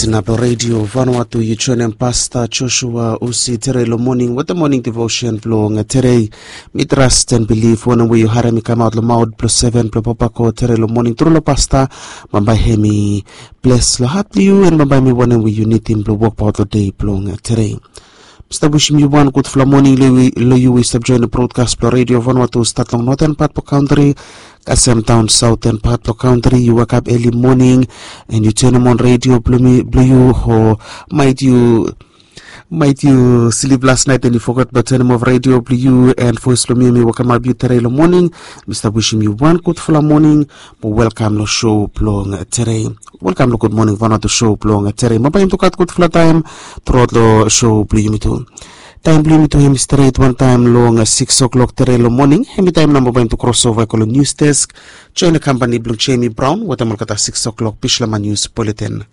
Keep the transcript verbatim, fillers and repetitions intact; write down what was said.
Na blong redio vanua tu yu joinim pasta joshua usi tere long moning wata moning devotion blong tere. Mi tras ten bilif wanem we yu harim i kamaot long maot blong seven blong papa ko tere long moning tru long pasta. Bambae hem i bles long hat blong yu en bambae mi wanem we yu nidim blong wokbaot long de blong tere. Mista wisim yu wan gudfala moning long yu we yu stap joinim brodkas blong redio vanua tu stat long noten pat blong kantri kasem daon saoten pat blong kantri yu wekap eli moning. En yu tenim on redio blong yu o mait yu mait yu slip las nait en yu foget blong tenim of redio blong yu en voes blong mi em i wokamap yu tere long moning. Mi stap wisim yu wan gudfala moning. Mo welkam long show blong tere. Welkam long gud moning vanatu show blong tere ma bai em tu gat gudfala taim. Truaot long show blong yumi tu taim blong yumi tu em i stret wantaim long six o'clock tere long moning em i taim namba bai em tu krosova i go long news desk. Join long kampani blong jemi braun wetem olgeta six o'clock bislama news bulletin.